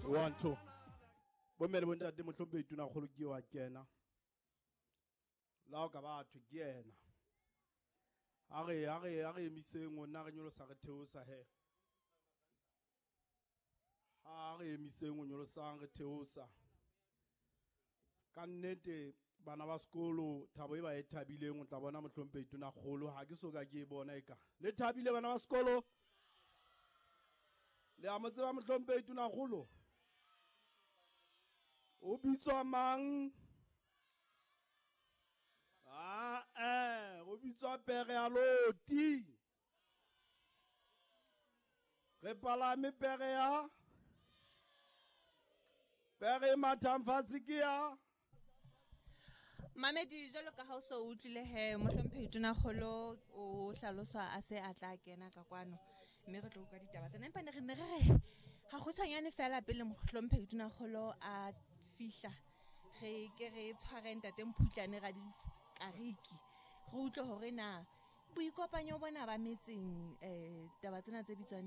One, two. Bomme le bontate mohlomphehi tonakgolo ke wa kena. La o ka batho ke yena. A re a re a re emiseng o nna re nyolosa re theosa he. Ha re emiseng o nyolosang re theosa. Ka nnete bana ba sekolo thabo e ba e thabileng o tla bona mohlomphehi tonakgolo ha ke so ka ke e bona e ka. Le thabile bana ba sekolo? Le a mo tseba mohlomphehi tonakgolo? O bitswa mang? Ah, eh, o bitswa pere ya loti. Re palame pere ya pere e mathang fatshe ke ya Mamedi jwalo ka ha o so utlwile he mohlomphehi tonakgolo o hlaloswa a se a tla kena ka kwano mme re tlo utlwa ditaba tsena empa ne re ne re re ga kgutshwanyane fela pele mohlomphehi tonakgolo a fihla re ke re tshware ntate Mphutlane ra dikariki re utlwe hore na boikopanyo bona ba metseng um taba tsena tse bitswang